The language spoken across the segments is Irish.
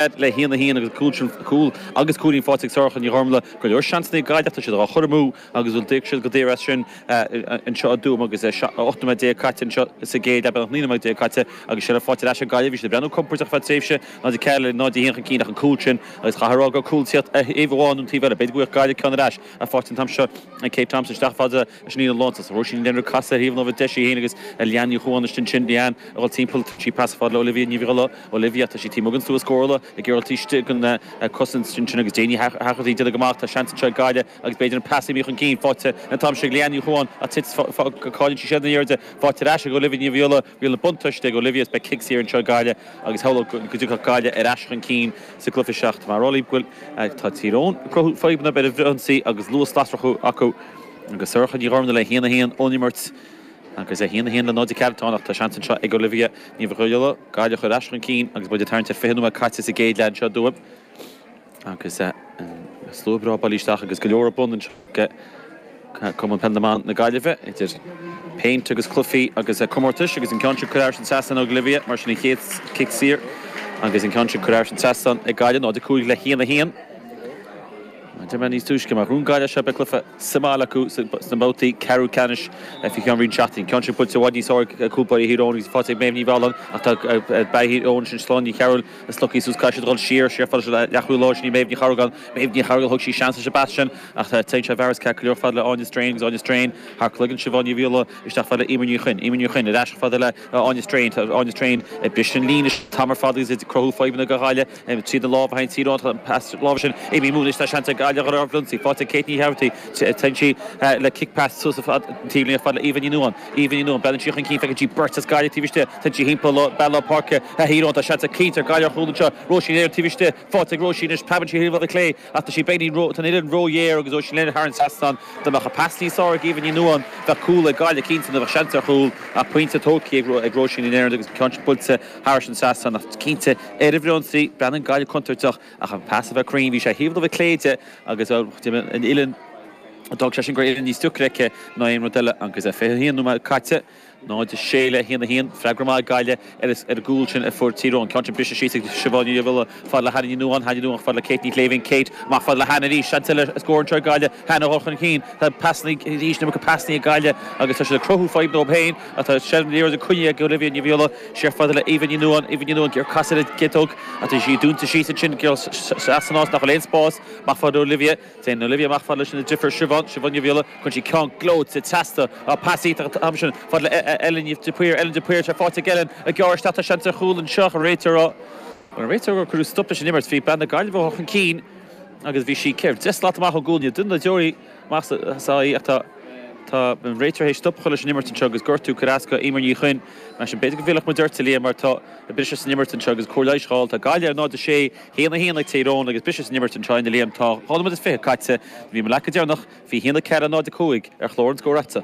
Le 1, 1 agus cúl sin, cúl agus cúilín faighte ag Sorcha Ní Ghormlaith. Go leor seansanna ag Gaillimh ach tá siad á chur amú agus bhuel d'íoc siad go daor as sin anseo i dTuaim agus 18 nóiméad caite anseo sa gcéad leath, beagnach 19 nóiméad caite agus seilbh faighte ar ais ag Gaillimh. Bhí siad ag breathnú compordach ar feadh tréimhse, 0, 4 le 0, 1 chun cinn ach an cúl sin agus chaithfeá a rá go raibh cúl ag tíocht ar thaobh amháin nó an taobh eile. B'fhéidir go bhfaigheadh Gaillimh ceann ar ais ach faighte an t-am seo ag Kate Thompson isteach fada leis an líne lántosach. Róisín Ní Leonard casadh ar thaobh an láimhe deise í féin agus Leanne Ní Chuan istigh ansin. Leanne ag dul timpeall, sí pas fada le Olivia Ní Bhrighile. Olivia, tá sí taobh amuigh den stua scórála ag iarraidh taobh istigh den chosaint ansin agus Janie Hegarty déanamh go maith. Tá seans anseo ag Gaillimh agus b'fhéidir an pas imithe chun cinn faighte an t-am seo ag Leanne Ní Chuan ach tit cailleann sí seilbh na liathróide faighte ar ais ag Olivia Ní Bhrighile. Bhí an buntáiste ag Olivia is beidh cic saor anseo ag Gaillimh agus shamhlódh go dtiocfadh Gaillimh ar ais chun cinn sa gcluiche seo. Tá mé ag rá libh go bhfuil tá Tír Eoghain ag cruthú fadhbanna ar an bhfrithionsaí agus luas lasrach acu agus Sorcha Ní Ghormlaith le 1-1 ón imirt. Agus 1, 1 le 0, 4 atá ann ach tá seans anseo ag Olivia Ní Bhrighile Gaillimh a chur ar ais chun cinn agus muid ag tarraingt ar 20 nóiméad caite sa gcéad leath anseo i dTuaim. Agus slua breá bailithe isteach agus go leor ar bun anseo ag Cumann Peile na mBan na Gaillimhe idir péint agus cluichí agus comórtais agus an ceann sin curtha thar an trasnán ag Olivia mar sin an chéad cic saor agus an ceann sin curtha thar an trasnán ag Gaillimh 0, 5 le 1, 1. Deir mé níos túisce, má ghnóthaíonn Gaillimh seo beidh cluiche sa mbaile acu sna babhtaí ceathrú ceannais faoi cheann roinnt seachtainí. Ceann sin buailte i bhfad níos airde ag cúl báire Thír Eoghain agus faighte ag Méabh Ní Mhealláin ach tá bean Thír Eoghain sin Sláine Ní Chearúil slogtha suas caithfidh siad a dhul siar, siar fada le leath chúl láir sin í Méabh Ní Chearúil. Méabh Ní Chearúil thug sí seans leis an bpas sin ach téann sé i bhfearas ceart go leor fada le Áine Strain agus Áine Strain thar cloigeann Siobhán Ní Bhrighile isteach fada le Emer Ní Chuinn. Emer Ní Chuinn ar ais fada le Áine Strain. Tá Áine Strain ag briseadh an líne an t-am ar fad agus ag cruthú fadhbanna do Ghaillimh. Tríd an lámh a théann Tír Eoghain, an pas láimhe sin imithe amú anois tá seans ag Gaillimh ar fhrithionsaí. Faighte ag Kate Ní Hegarty. Téann sí le cic pas suas an taobhlíne fada le Aoibhe Ní Nuadháin. Aoibhe Ní Nuadháin, breathnaíonn sí chun cinn, feiceann sí beirt as Gaillimh taobh istigh. Téann sí thimpeall bean lár páirce Thír Eoghain. Tá seans ag cinnte ar Gaillimh ar chúl anseo. Róisín Leonard taobh istigh. Faighte ag Róisín anois. Preabann sí ar thaobh clé ach tá sí beagnach ró, tá an uillinn róghéar agus Róisín Leonard thar an trasnán. Dá mbeadh an pas níos fearr ag Aoibhe Ní Nuadháin, bheadh cúl ag Gaillimh cinnte nó bheadh seans ar chúl ach pointe tógtha ag Róisín Leonard agus an ceann sin buailte thar an trasnán ach cinnte ar an bhfrithionsaí, breathnaíonn Gaillimh contúirteach ach an pas a bheith cruinn, bhí sé thaobh láimhe clé di agus an uillinn, d'fhág sé sin go raibh uillinn níos deacra aici ná aon rud eile agus 21 nóiméad caite, 0-6 le 1-1, freagra maith ag Gaillimh ar an gcúl sin a fuair Tír Eoghain. Ceann sin briste síos ag Siobhán Ní Bhrighile fad le Hannah Ní Nuadháin, Hannah Ní Nuadháin fad le Kate Ní Shléibhín, Kate amach fad le Hannah arís, seans eile scór anseo ag Gaillimh, Hannah a dhul chun cinn, tá pasanna arís, an iomarca pasanna ag Gaillimh agus tá siad ag cruthú fadhb dóibh féin ach tá seilbh na liathróide coinnithe ag Olivia Ní Bhrighile. Siar fada le Aoibhe Ní Nuadháin, Aoibhe Ní Nuadháin ag iarraidh casadh ar an gciotóg ach tá sí dúnta síos ansin ag iarraidh san áit nach bhfuil aon spás. Amach fada le Olivia. Téann Olivia amach fada leis an deirfiúr Siobhán, Siobhán Ní Bhrighile. Cuireann sí ceann gleoite trasna. Á, pas iontach an t-am sin fada le Ellen de Paor, Ellen de Paor, tá faighte ag Ellen ag gearradh isteach. Tá seans ar chúl anseo ach an réiteoir á, an réiteoir gur cuireadh stop leis an imirt. Bhí bean na Gaillimhe a dhul chun cinn agus bhí sí ceithre, 10 slat amach ón gcúl. Níl duine dá deoraí amach sa í ach tá tá an réiteoir théis stop a chur leis an imirt anseo agus gortú curtha as go Eimear Ní Chuinn. Mar sin b'fhéidir go bhfillfeadh muid ort a Liam mar tá briseadh san imirt anseo agus cóir leighis a fháil. Tá Gaillimh ar 0-6, 1-1 ag Tír Eoghain agus briseadh san imirt anseo a Liam. Tá 2 nóiméad is 20 caite. Bhí mo leac go deireanach, bhí 1-4 0-5 ar chlár an scóir a'dsa.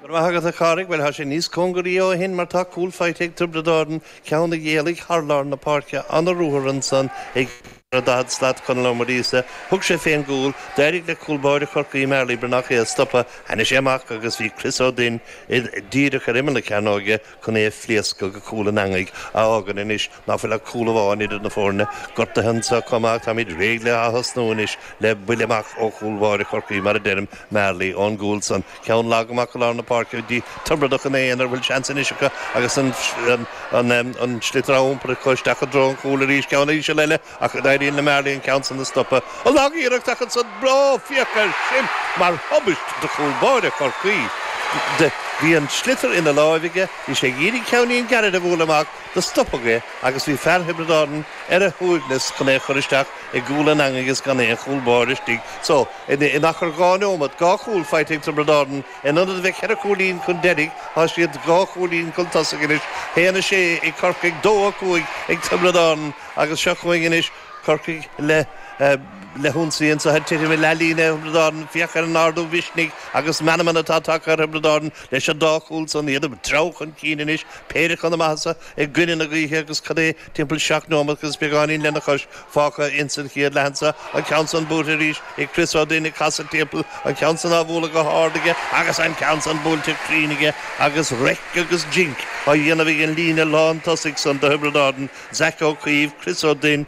Go raibh maith agat a Chárthaigh. Bhuel, tá sé níos cóngaraí ó shin mar tá cúl faighte ag Tiobraid Árann, ceann a d'éalaigh thar lár na páirce, an-ruathar ansan ag. 40 slat, Conall Ó Muiríosa. Thug sé fén gcúl. D'éirigh le cúl báire Chorcaí, Marley Breathnach, é a stopadh. Tháinig sé amach agus bhí Chris Ó Duinn díreach ar imeall na cearnóige chun é a phléascadh go cúl an eangaigh, a fhágann anois ná fuil ach cúl amháin idir na foirne. Gortaithe anso chomh maith. Táimid réidh le ath-thosnú anois le buille amach ó chúl báire Chorcaí, mar a deirim, Marley, ón gcúl san. Ceann lag amach i lár na páirce go dtí Tiobradach ina aonar, bhfuil seans anois acu agus an sliotar á iompar acu isteach i dtreo an chúil arís. Ceann íseal eile ach éiríonn le Marley an ceann san a stopadh. An lag-iarracht ach ansan, ó, féach air sin mar thubaist do chúl báire Chorcaí. Bhí an sliotar ina láimh aige, bhí sé ag iarraidh ceainnín gairid a bhualadh amach, do stopadh é agus bhí fear Thiobraid Árann ar a shuaimhneas chun é a chur isteach i gcúl an eangaigh is gan aon chúl báire istigh. So. In achar 2 neomat, 2 chúl faighte ag Tiobraid Árann. In ionad a bheith 4 chúilín chun deiridh, tá siad 2 chúilín chun tosaigh anois, 1-6 ag Corcaigh, 2-5 ag Tiobraid Árann agus seo chugainn anois Corcaigh le. Le hionsaí anso ag titim i leathlíne Thiobraid Árann, féach ar an ardú mhisnigh agus meanman atá tagtha ar Thiobraid Árann leis an dá chúl san, iad ag treabhadh chun cinn anois, péire chun na maitheasa i gcoinne na gaoithe agus cad é timpeall 7 neomat agus beagáinín lena chois fágtha ins an chéad leath anso, an ceann san buailte arís ag Chris Ó Duinn ag casadh timpeall, an ceann san á bhualadh go hard aige agus an ceann san buailte cruinn aige agus raic agus jinc á dhéanamh ag an líne lán tosaigh san do Thiobraid Árann, Zach Ó Caoimh, Chris Ó Duinn.